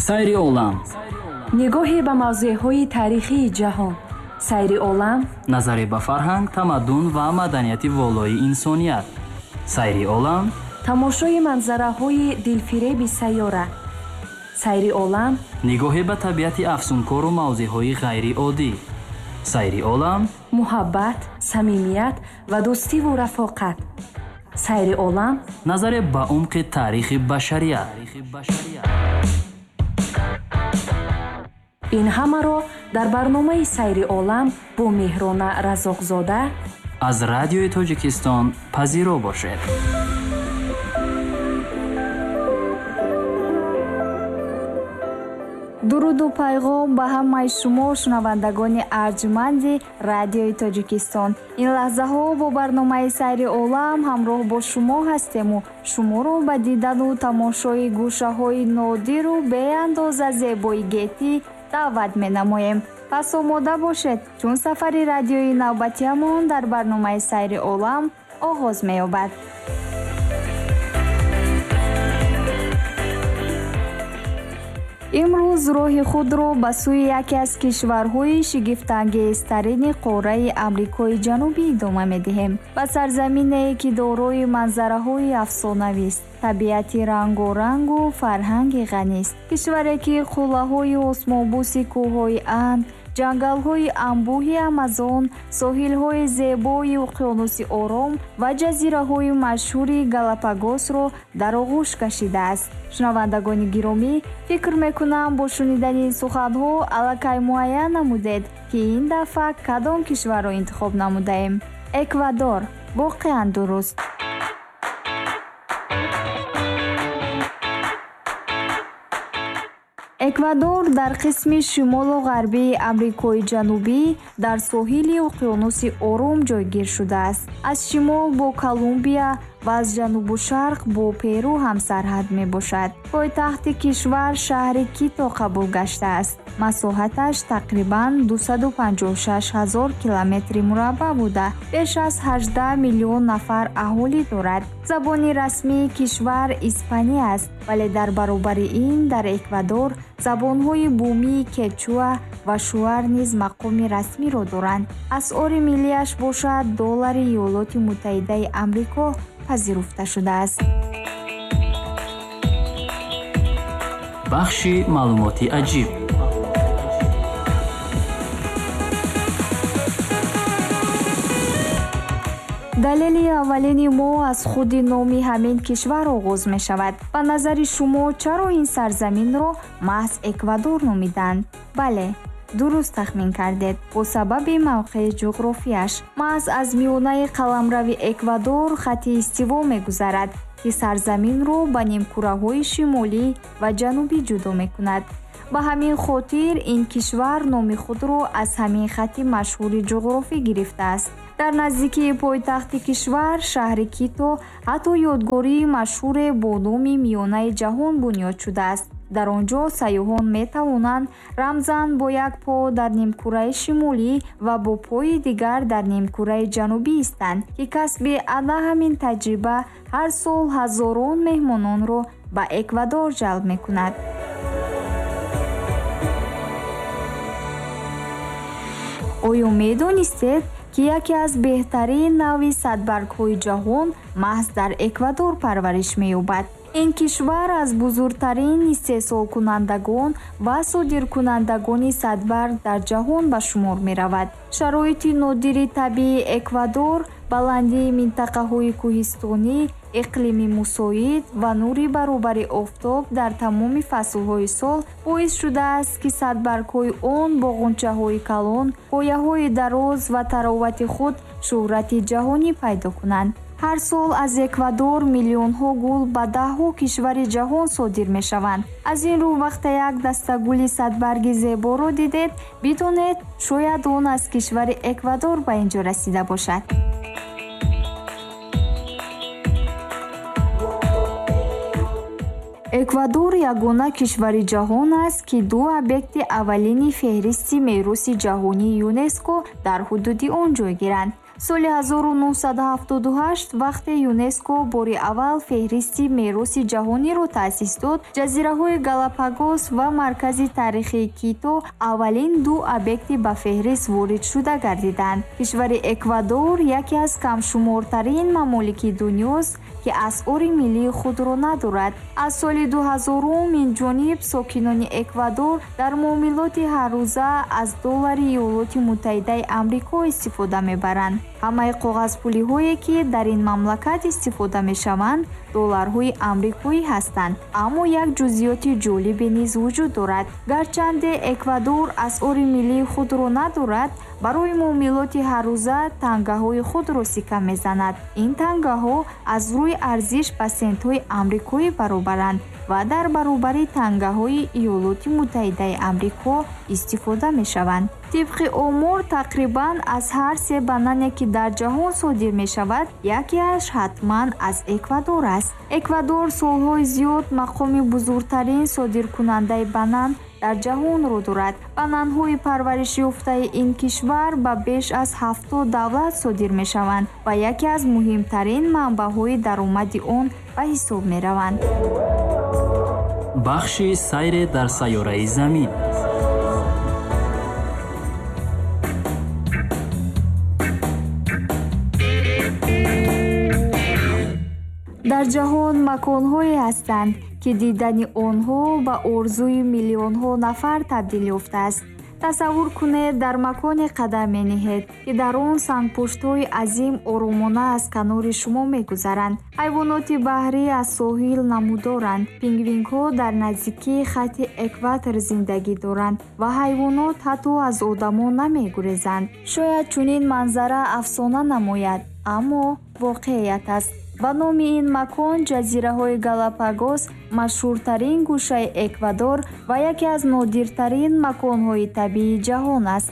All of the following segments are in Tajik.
Сайри олам. Нигоҳе ба мавзеъҳои таърихии ҷаҳон. Сайри олам. Назаре ба фарҳанг, тамаддун ва маданияти волои инсоният. Сайри олам. Тамошои манзараҳои дилфиреби сайёра. Сайри олам. Нигоҳе ба табиати афсункору мавзеъҳои ғайриоддӣ. Сайри олам. Муҳаббат, самимият ва дӯстиву рафоқат. Сайри олам. Назаре ба умқи таърихи башарият. Ин ҳамаро дар барномаи Сайри олам бо Меҳрона Разоқзода аз Радиои Тоҷикистон пазиро бошед. Дуруду пайғом ба ҳамаи шумо шунавандагони арҷманди Радиои Тоҷикистон. Ин лаҳзаҳо бо барномаи Сайри олам ҳамроҳ бо шумо ҳастему шуморо ба дидану тамошои гӯшаҳои нодиру беандоза зебои гетӣ даъват менамоем. Пас омода бошед, чун сафари радиои навбатиамон дар барномаи Сайри олам оғоз меёбад. Имрӯз роҳи худро ба сӯи яке аз кишварҳои шигифтангезтарини қораи Амрикои Ҷанубӣ идома медиҳем. Ба сарзамине, ки дорои манзараҳои афсонавист, табиати рангорангу фарҳанги ғанист. Кишваре, ки қуллаҳои осмонбӯси кӯҳҳои Анд, ҷангалҳои анбӯҳи Амазон, соҳилҳои зебои уқёнуси Ором ва ҷазираҳои машҳури Галапагосро дар оғӯш кашидааст. Шунавандагони гиромӣ, фикр мекунам бо шунидани ин суханҳо аллакай муайян намудед, ки ин дафъа кадом кишварро интихоб намудаем. Эквадор. Воқеан дуруст. Эквадор дар қисми шимолу ғарбии Амрикои Ҷанубӣ дар соҳили уқёнуси Ором ҷойгир шудааст. Аз шимол бо Колумбия ва аз ҷанубу шарқ бо Перу ҳамсарҳад мебошад. Пойтахти кишвар шаҳри Кито қабул гаштааст. Масоҳаташ тақрибан 256 ҳазор километри мураббаъ буда, беш аз 18 миллион нафар аҳолӣ дорад. Забони расмии кишвар испанӣ аст, вале дар баробари ин дар Эквадор забонҳои бумии кечуа ва шуар низ мақоми расмиро доранд. Асъори миллиаш бошад доллари Иёлоти Муттаҳидаи Амрико пазируфта шудааст. Бахши маълумоти аҷиб. Далели аввалини мо аз худи номи ҳамин кишвар оғоз мешавад. Ба назари шумо чаро ин сарзаминро маҳз Эквадор номиданд? Бале, дуруст тахмин кардед. Бо сабаби мавқеи ҷуғрофияш. Маҳз аз миёнаи қаламрави Эквадор хати истиво мегузарад, ки сарзаминро ба нимкураҳои шимолӣ ва ҷанубӣ ҷудо мекунад. Ба ҳамин хотир ин кишвар номи худро аз ҳамин хати машҳури ҷуғрофӣ гирифтааст. Дар наздикии пойтахти кишвар, шаҳри Кито, ҳатто ёдгории машҳуре бо номи Миёнаи ҷаҳон бунёд шудааст. Дар он ҷо сайёҳон метавонанд рамзан бо як по дар нимкураи шимолӣ ва бо пои дигар дар нимкураи ҷанубӣ истанд, ки касби ана ҳамин таҷриба ҳар сол ҳазорон меҳмононро ба Эквадор ҷалб мекунад. Оё медонистед, ки яке аз беҳтарин навъи садбаргҳои ҷаҳон маҳз дар Эквадор парвариш меёбад? Ин кишвар аз бузургтарин истеҳсолкунандагон ва содиркунандагони садбарг дар ҷаҳон ба шумор меравад. Шароити нодири табиии Эквадор, баландии минтақаҳои кӯҳистонӣ, иқлими мусоид ва нури баробари офтоб дар тамоми фаслҳои сол боис шудааст, ки садбаргҳои он бо ғунчаҳои калон, пояҳои дароз ва таровати худ шӯҳрати ҷаҳонӣ пайдо кунанд. Ҳар сол аз Эквадор миллионҳо гул ба даҳҳо кишвари ҷаҳон содир мешаванд. Аз ин рӯ вақте як дастагули садбарги зеборо дидед, бидонед, шояд он аз кишвари Эквадор ба ин ҷо расида бошад. Эквадор ягона кишвари ҷаҳон аст, ки ду объекти аввалини феҳристи мероси ҷаҳонии ЮНЕСКО дар ҳудуди он ҷойгиранд. Соли 1978 вақте ЮНЕСКО бори аввал феҳристи мероси ҷаҳониро таъсис дод, ҷазираҳои Галапагос ва маркази таърихии Кито аввалин ду объекти ба феҳрист воридшуда гардиданд. Кишвари Эквадор яке аз камшумортарин мамолики дунёст, ки асъори миллии худро надорад. Аз соли 2000 инҷониб сокинони Эквадор дар муомилоти ҳаррӯза аз доллари Иёлоти Муттаҳидаи Амрико истифода мебаранд. Ҳамаи коғазпулиҳое, ки дар ин мамлакат истифода мешаванд, долларҳои амрикоӣ ҳастанд. Аммо як ҷузъиёти ҷолибе низ вуҷуд дорад. Гарчанде Эквадор асъори миллии худро надорад, барои муомилоти ҳаррӯза тангаҳои худро сикка мезанад. Ин тангаҳо аз рӯи арзиш ба сентҳои амрикоӣ баробаранд ва дар баробари тангаҳои Иёлоти Муттаҳидаи Амрико истифода мешаванд. Тибқи омор, тақрибан аз ҳар се банане, ки дар ҷаҳон содир мешавад, якеаш ҳатман аз Эквадор аст. Эквадор солҳои зиёд мақоми бузургтарин содиркунандаи банан дар ҷаҳонро дорад. Бананҳои парваришёфтаи ин кишвар ба беш аз 70 давлат содир мешаванд ва яке аз муҳимтарин манбаъҳои даромади он ба ҳисоб мераванд. Бахши сайре дар сайёраи Замин. Дар ҷаҳон маконҳое ҳастанд, ки дидани онҳо ба орзуи миллионҳо нафар табдил ёфтааст. Тасаввур кунед, дар маконе қадам мениҳед, ки дар он сангпуштҳои азим оромона аз канори шумо мегузаранд. Ҳайвоноти баҳрӣ аз соҳил намудоранд, пингвинҳо дар наздикии хатти экватор зиндагӣ доранд ва ҳайвонот ҳатто аз одамон намегурезанд. Шояд чунин манзара афсона намояд, аммо воқеият аст. Ба номи ин макон ҷазираҳои Галапагос машҳуртарин гӯшаи Эквадор ва яке аз нодиртарин маконҳои табиии ҷаҳон аст.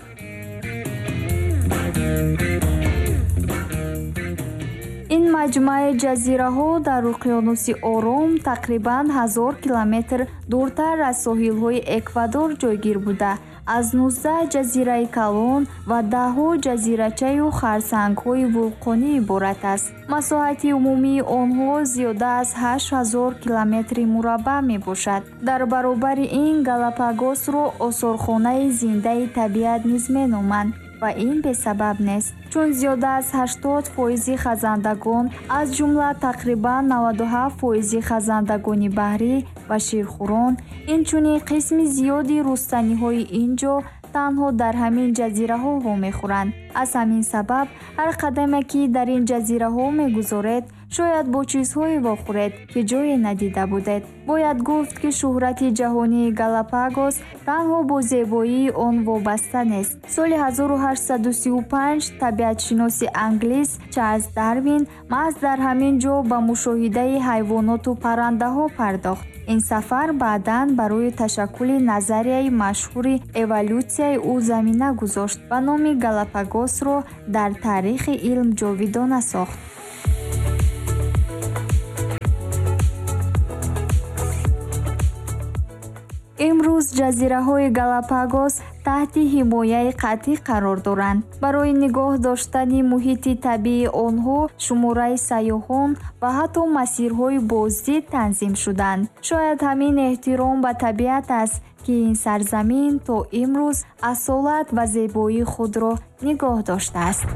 Ин маҷмӯаи ҷазираҳо дар уқёнуси Ором тақрибан 1000 километр дуртар аз соҳилҳои Эквадор ҷойгир буда, аз 19 ҷазираи калон ва даҳҳо ҷазирачаю харсангҳои вулқонӣ иборат аст. Масоҳати умумии онҳо зиёда аз 8000 километри мураббаъ мебошад. Дар баробари ин Галапагосро осорхонаи зиндаи табиат низ меноманд ва ин бесабаб нест, чун зиёда аз 80% хазандагон, аз ҷумла тақрибан 97% хазандагони баҳрӣ ва ширхӯрон, инчунин қисми зиёди рустаниҳои ин ҷо танҳо дар ҳамин ҷазираҳо вомехӯранд. Аз ҳамин сабаб ҳар қадаме, ки дар ин ҷазираҳо мегузоред, шояд бо чизҳое вохӯред, ки ҷое надида будед. Бояд гуфт, ки шӯҳрати ҷаҳонии Галапагос танҳо бо зебоии он вобаста нест. Соли 1835 табиатшиноси англис Чарлз Дарвин маҳз дар ҳамин ҷо ба мушоҳидаи ҳайвоноту паррандаҳо пардохт. Ин сафар баъдан барои ташаккули назарияи машҳури эволютсияи ӯ замина гузошт ва номи Галапагосро дар таърихи илм ҷовидона сохт. Имрӯз ҷазираҳои Галапагос таҳти ҳимояи қатъӣ қарор доранд. Барои нигоҳ доштани муҳити табиии онҳо шумораи сайёҳон ва ҳатто масирҳои боздид танзим шуданд. Шояд ҳамин эҳтиром ба табиат аст, ки ин сарзамин то имрӯз асолат ва зебоии худро нигоҳ доштааст.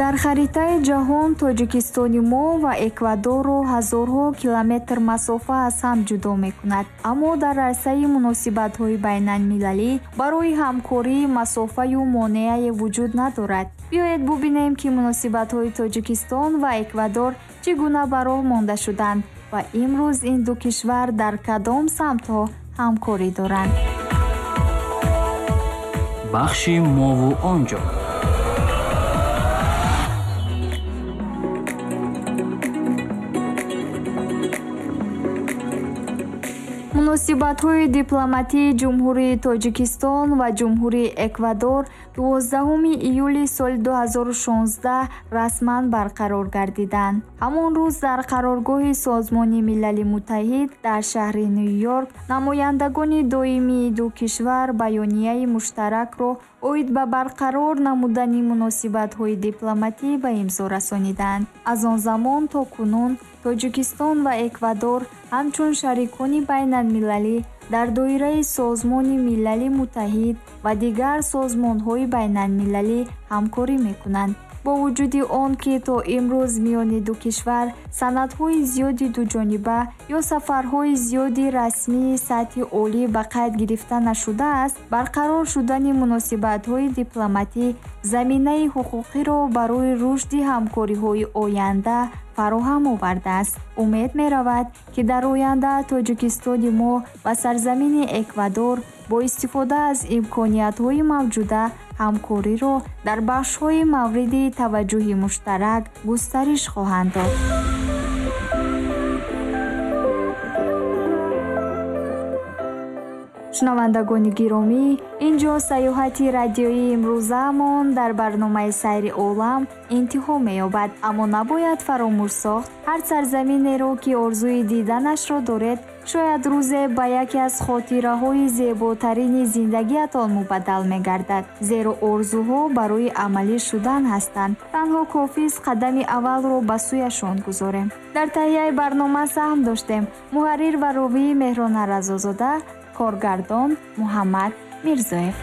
Дар харитаи ҷаҳон Тоҷикистони мо ва Эквадорро ҳазорҳо километр масофа аз ҳам ҷудо мекунад. Аммо дар арсаи муносибатҳои байналмилалӣ барои ҳамкорӣ масофаю монеае вуҷуд надорад. Биёед бубинем, ки муносибатҳои Тоҷикистон ва Эквадор чӣ гуна ба роҳ монда шуданд ва имрӯз ин ду кишвар дар кадом самтҳо ҳамкорӣ доранд. Бахши мову онҷо. Муносибатҳои дипломатии Ҷумҳурии Тоҷикистон ва Ҷумҳурии Эквадор 12 июли соли 2016 расман барқарор гардиданд. Ҳамон рӯз дар қароргоҳи Созмони Милали Муттаҳид дар шаҳри Ню-Йорк намояндагони доимии ду кишвар баёнияи муштаракро оид ба барқарор намудани муносибатҳои дипломатӣ ба имзо расониданд. Аз он замон то кунун Тоҷикистон ва Эквадор ҳамчун шарикони байналмилалӣ дар доираи Созмони Милали Муттаҳид ва дигар созмонҳои байналмилалӣ ҳамкорӣ мекунанд. Бо вуҷуди он ки то имрӯз миёни ду кишвар санадҳои зиёди дуҷониба ё сафарҳои зиёди расмии сатҳи олӣ ба қайд гирифта нашудааст, барқарор шудани муносибатҳои дипломатӣ заминаи ҳуқуқиро барои рушди ҳамкориҳои оянда фароҳам овардааст. Умед меравад, ки дар оянда Тоҷикистони мо ва сарзамини Эквадор бо истифода аз имкониятҳои мавҷуда ҳамкориро дар бахшҳои мавриди таваҷҷӯҳи муштарак густариш хоҳанд дод. Шунавандагони гиромӣ, ин ҷо саёҳати радиоии имрӯзаамон дар барномаи Сайри олам интиҳо меёбад. Аммо набояд фаромӯш сохт, ҳар сарзаминеро, ки орзуи диданашро доред, шояд рӯзе ба яке аз хотираҳои зеботарини зиндагиатон мубаддал мегардад, зеро орзуҳо барои амалӣ шудан ҳастанд. Танҳо кофист қадами аввалро ба сӯяшон гузорем. Дар таҳияи барнома саҳм доштем муҳаррир ва ровии Меҳрона Разозода, коргардон Муҳаммад Мирзоев.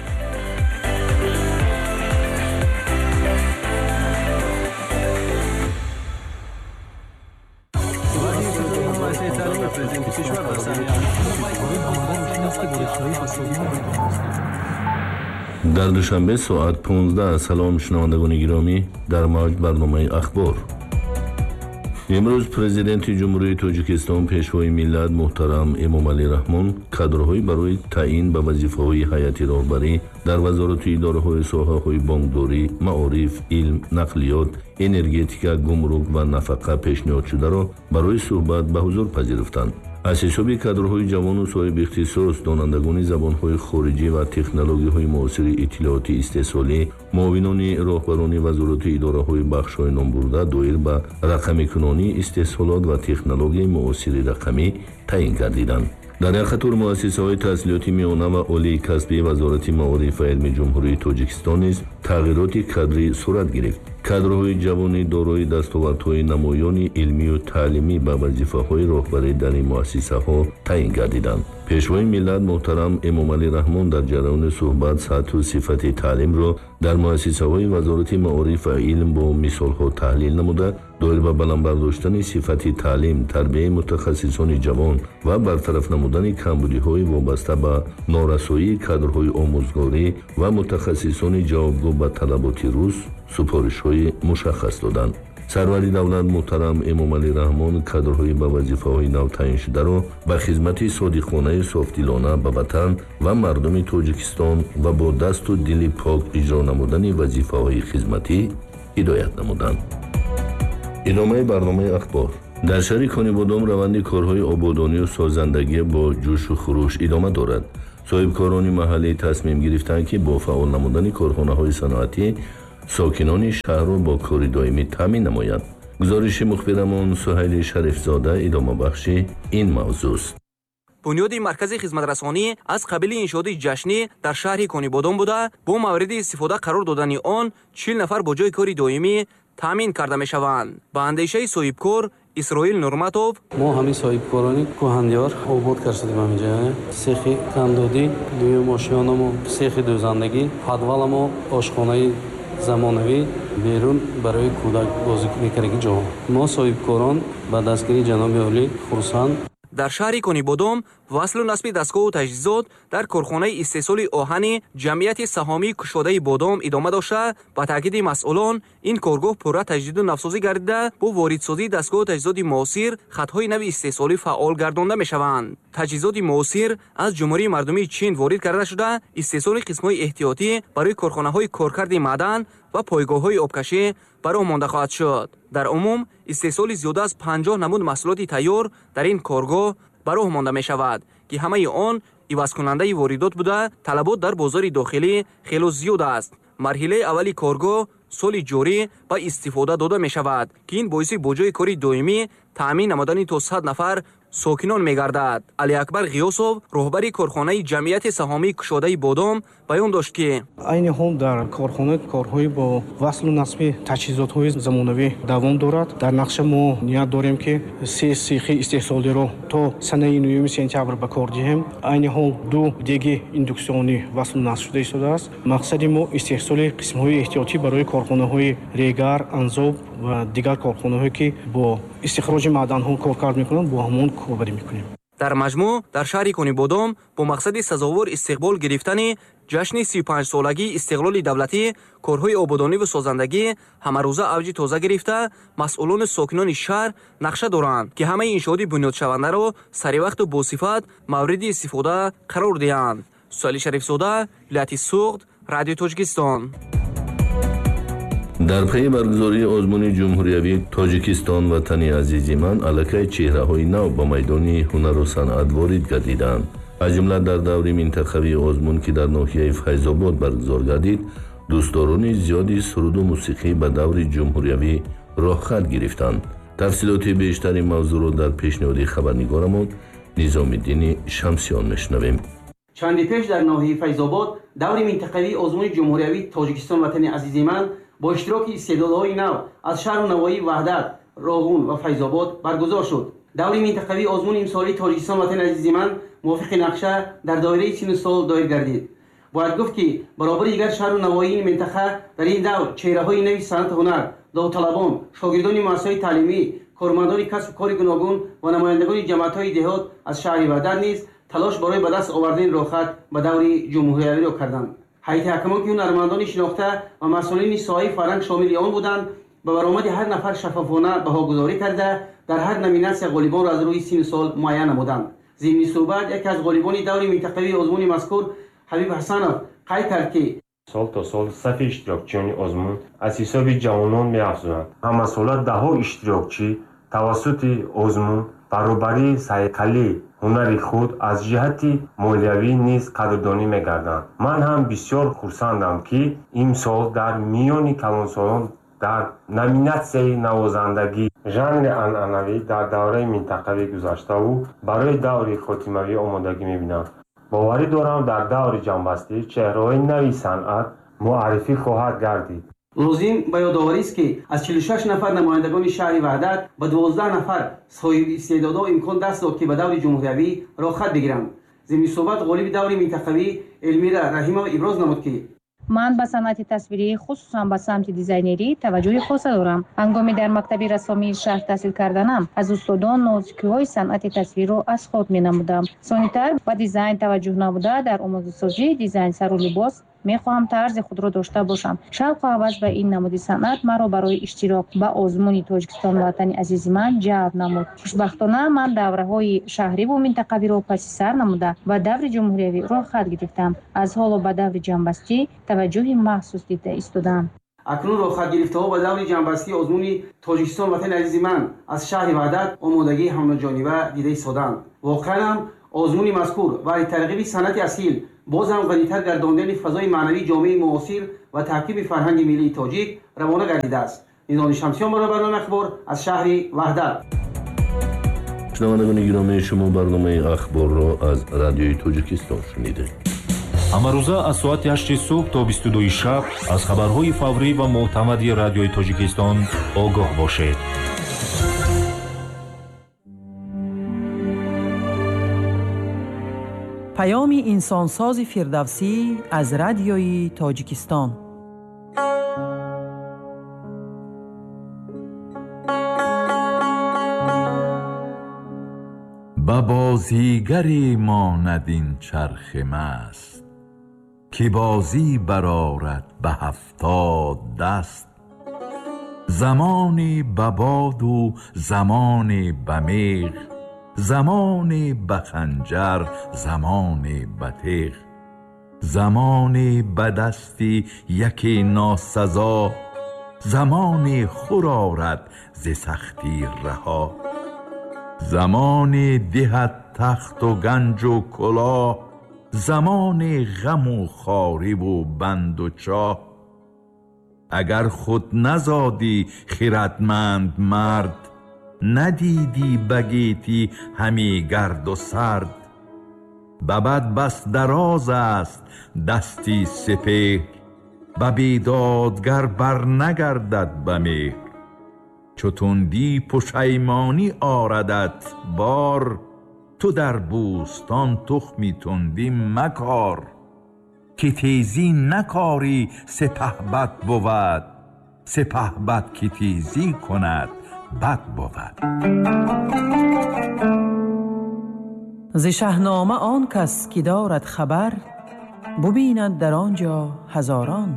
Дар Душанбе соат 15. Салом шунавандагони гиромӣ, дар мавҷ барномаи Ахбор. Имрӯз Президенти Ҷумҳурии Тоҷикистон, Пешвои миллат муҳтарам Эмомалӣ Раҳмон кадрҳои барои таъин ба вазифаҳои ҳайати роҳбарӣ дар вазорату идораҳои соҳаҳои бонкдорӣ, маориф, илм, нақлиёт, энергетика, гумрук ва нафақа пешниҳодшударо барои суҳбат ба ҳузур пазируфтанд. Аз ҳисоби кадрҳои ҷавону соҳиби ихтисос, донандагони забонҳои хориҷӣ ва технологияҳои муосири иттилоотӣ истеҳсолӣ, муовинони роҳбарони вазорату идораҳои бахшҳои номбурда доир ба рақамикунонии истеҳсолот ва технологияи муосири рақамӣ таъин гардиданд. Дар як қатор муассисаҳои таҳсилоти миёна ва олии касбии Вазорати маориф ва илми Ҷумҳурии Тоҷикистон низ тағйироти кадрӣ сурат гирифт. Кадрҳои ҷавони дорои дастовардҳои намоёни илмию таълимӣ ба вазифаҳои роҳбарӣ дар ин муассисаҳо таъин гардиданд. Пешвои миллат муҳтарам Эмомалӣ Раҳмон дар ҷараёни суҳбат сатҳу сифати таълимро дар муассисаҳои Вазорати маориф ва илм бо мисолҳо таҳлил намуда, доир ба баланд бардоштани сифати таълим, тарбияи мутахассисони ҷавон ва бартараф намудани камбудиҳои вобаста ба норасоии кадрҳои омӯзгорӣ ва мутахассисони ҷавобгӯ ба талаботи рӯз супоришҳои мушаххас доданд. Сарвари давлат муҳтарам Эмомалӣ Раҳмон кадрҳои ба вазифаҳои нав таъиншударо ба хизмати содиқонаи софдилона ба ватан ва мардуми Тоҷикистон ва бо дасту дили пок иҷро намудани вазифаҳои хизматӣ ҳидоят намуданд. Идомаи барномаи Ахбор. Дар шаҳри Конибодом раванди корҳои ободонию созандагӣ бо ҷӯшу хуруш идома дорад. Соҳибкорони маҳаллӣ тасмим гирифтанд, ки бо фаъол намудани корхонаҳои саноатӣ сокинони шаҳрро бо кори доимӣ таъмин намоянд. Гузориши мухбирамон Суҳайли Шарифзода идомабахши ин мавзӯст. Бунёди маркази хизматрасонӣ аз қабили иншооти ҷашнӣ дар шаҳри Конибодом буда, бо мавриди истифода қарор додани он 40 нафар бо ҷои кори доимӣ таъмин карда мешаванд. Ба андешаи соҳибкор Исроил Нурматов, мо ҳамин соҳибкорони кӯҳандиёр обод кардем ҳаминҷа сехи кандодӣ, дуюм ошёнамо сехи дӯзандагӣ, подваламо ошхонаи замонавӣ, берун барои кӯдак бозӣ мекардаги ҷо. Мо соҳибкорон ба дастгирии ҷаноби олӣ хурсанд. Дар шаҳри Конибодом васлу насби дастгоҳу таҷҳизот дар корхонаи истеҳсоли оҳани ҷамъияти саҳомии кушодаи Бодом идома дошта, ба таъкиди масъулон ин коргоҳ пурра таҷдиду навсозӣ гардида, бо воридсозии дастгоҳу таҷҳизоти муосир хатҳои нави истеҳсолӣ фаъол гардонда мешаванд. Таҷҳизоти муосир аз Ҷумҳурии Мардумии Чин ворид карда шуда, истеҳсоли қисмҳои эҳтиётӣ барои корхонаҳои коркарди маъдан ва пойгоҳҳои обкашӣ ба роҳ монда хоҳад шуд. Дар умум истеҳсоли зиёда аз 50 намуд маҳсулоти тайёр дар ин коргоҳ ба роҳ монда мешавад, ки ҳамаи он ивазкунандаи воридот буда, талабот дар бозори дохилӣ хело зиёд аст. Марҳилаи аввали коргоҳ соли ҷорӣ ба истифода дода мешавад, ки ин боиси бо ҷойи кори доимӣ таъмин намудани то 100 нафар сокинон мегардад. Алиакбар Ғиёсов, роҳбари корхонаи ҷамъияти саҳомии кушодаи Бодом, баён дошт, ки айни ҳол дар корхона корҳои бо васлу насби таҷҳизотҳои замонавӣ давом дорад. Дар нақша мо ният дорем, ки се сехи истеҳсолиро то санаи 9 сентябр ба кор диҳем. Айни ҳол ду деги индуксионӣ васлу насб шуда истодааст. Мақсади мо истеҳсоли қисмҳои эҳтиётӣ барои корхонаҳои Регар, Анзоб ва дигар корхонаҳое, ки бо истихроҷи маъданҳо коркард мекунанд, бо ҳамон корбарӣ мекунем. Дар маҷмӯъ дар шаҳри Конибодом бо мақсади сазовор истиқбол гирифтани ҷашни 35-солагии истиқлоли давлатӣ корҳои ободониву созандагӣ ҳамарӯза авҷи тоза гирифта, масъулону сокинони шаҳр нақша доранд, ки ҳамаи иншооти бунёдшавандаро саривақту босифат мавриди истифода қарор диҳанд. Суҳайли Шарифзода, вилояти Суғд, Радиои Тоҷикистон. Дар пайи баргузории озмуни ҷумҳуриявии Тоҷикистон ватани азизи ман аллакай чеҳраҳои нав ба майдони ҳунару санъат ворид гардиданд. Аз ҷумла дар даври минтақавии озмун, ки дар ноҳияи Файзобод баргузор гардид, дӯстдорони зиёди суруду мусиқӣ ба даври ҷумҳуриявӣ роҳхат гирифтанд. Тафсилоти бештари мавзӯъро дар пешниҳоди хабарнигорамон Низомиддини Шамсиён мешунавем. Чанде пеш дар ноҳияи Файзобод даври минтақавии озмуни ҷумҳуриявии Тоҷикистон ватани азизи ман бо иштироки истеъдодҳои нав аз шаҳру навоҳии Ваҳдат, Роғун ва Файзобод баргузор шуд. Даври минтақавии озмуни имсолии Тоҷикистон ватани азизи ман мувофиқи нақша дар доираи сину сол доир гардид. Бояд гуфт, ки баробари дигар шаҳру навоҳии минтақа дар ин давр чеҳраҳои нави санъату ҳунар, довталабон, шогирдони муассисаҳои таълимӣ, кормандони касбу кори гуногун ва намояндагони ҷамоатҳои деҳот аз шаҳри Ваҳдат низ талош барои ба даст овардани роҳхат ба даври ҷумҳуриявиро карданд. Ҳайати ҳакамон, ки ҳунармандони шинохта ва масъулини соҳаи фарҳанг шомили он буданд, ба баромади ҳар нафар шаффофона баҳогузорӣ карда, дар ҳар номинатсия ғолибонро аз рӯи сину сол муайян намуданд. Зимни суҳбат яке аз ғолибони даври минтақавии озмуни мазкур Ҳабиб Ҳасанов қайд кард, ки сол то сол сафи иштирокчиёни озмун аз ҳисоби ҷавонон меафзоянд. Ҳамасола даҳҳо иштирокчӣ тавассути озмун баробарии сайқали ҳунари худ аз ҷиҳати молиявӣ низ қадрдонӣ мегарданд. Ман ҳам бисёр хурсандам, ки имсол дар миёни калонсолон дар номинатсияи навозандагӣ жанри анъанавӣ дар давраи минтақавӣ гузаштаву барои даври хотимавӣ омодагӣ мебинам. Боварӣ дорам, дар даври ҷамъбастӣ чеҳраҳои нави санъат муаррифӣ хоҳад гардид. Лозим ба ёдоварист, ки аз 46 нафар намояндагони шаҳри Ваҳдат ба 12 нафар соҳиби истеъдодҳо имкон даст дод, ки ба даври ҷумҳуриявӣ роҳхат бигиранд. Зимни суҳбат ғолиби даври минтақавӣ Элмира Раҳимова иброз намуд, ки ман ба санъати тасвирӣ, хусусан ба самти дизайнерӣ таваҷҷӯҳи хоса дорам. Ҳангоми дар мактаби рассомии шаҳр таҳсил карданам, аз устодон нозикиҳои санъати тасвирро аз худ менамудам. Сонитар ба дизайн таваҷҷӯҳ намуда, дар омодасозии дизайн сару либос мехоҳам тарзи худро дошта бошам. Шавқу ҳавас ба ин намуди санъат маро барои иштирок ба озмуни Тоҷикистон ватани азизи ман ҷалб намуд. Хушбахтона, ман давраҳои шаҳриву минтақавиро паси сар намуда, ба даври ҷумҳуриявӣ роҳхат гирифтам. Аз ҳоло ба даври ҷамъбастӣ таваҷҷӯҳи махсус дида истодам. Акнун роҳхатгирифтаҳо ба даври ҷамъбастии озмуни Тоҷикистон ватани азизи ман аз шаҳри Ваҳдат омодагии ҳамаҷониба дида истоданд. Воқеан ҳам озмуни мазкур барои тарғиби санъати асил, боз ҳам ғанитар гардондани фазои маънавии ҷомеаи муосир ва таҳкими фарҳанги миллии тоҷик равона гардидааст. Низоми Шамсиён барои барномаи Ахбор аз шаҳри Ваҳдат. Шунавандагони гиромӣ, шумо барномаи Ахборро аз Радиои Тоҷикистон шунидед. Ҳамарӯза аз соати 8 субҳ то 22 шаб аз хабарҳои фаврӣ ва мӯътамади Радиои Тоҷикистон огоҳ бошед. Паёми инсонсози Фирдавсӣ аз Радиои Тоҷикистон. Ба бозигаре монад ин чархи маст, ки бозӣ барорад ба 70 даст. Замоне ба боду замоне ба меғ, замоне ба ханҷар, замоне ба теғ, замоне ба дасти яке носазо, замоне хӯр орад зи сахтӣ раҳо. Замоне диҳад тахту ганҷу кулоҳ, замоне ғаму хориву банду чоҳ. Агар худ назодӣ хирадманд мард, надидӣ ба гетӣ ҳаме гарду сард. Ба бад бас дароз аст дасти сипеҳр, ба бедодгар барнагардад ба меҳр. Чу тундӣ пушаймонӣ орадат бор, ту дар бӯстон тухми тундӣ макор. Ки тезӣ накорӣ сипаҳбад бувад, сипаҳбад ки тезӣ кунад бад бувад. Зи Шаҳнома он кас ки дорад хабар, бубинад дар он ҷо ҳазорон.